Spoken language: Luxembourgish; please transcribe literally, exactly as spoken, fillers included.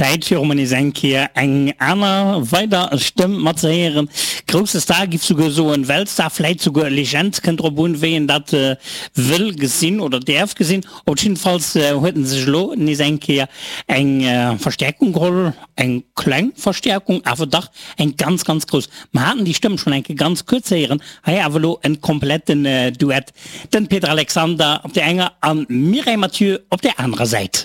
Zäit fir och mol nees eng Kéier eng aner weider Stëmm mat ze héieren. Grousse Star, giff souguer soen Weltstar, vläit souguer Legend, kënnt drop un, wéi een dat wëll gesinn oder däerf gesinn. Op jiddefalls huet en sech elo nees eng Kéier eng Verstäerkung geholl, eng kleng Verstäerkung, awer dach eng ganz, ganz grouss. Mer haten déi Stëmm schonn eng Kéier ganz kuerz héieren, hei awer elo en kompletten Duett, den Peter Alexander op där enger an d'Mireille Mathieu op där anerer Säit.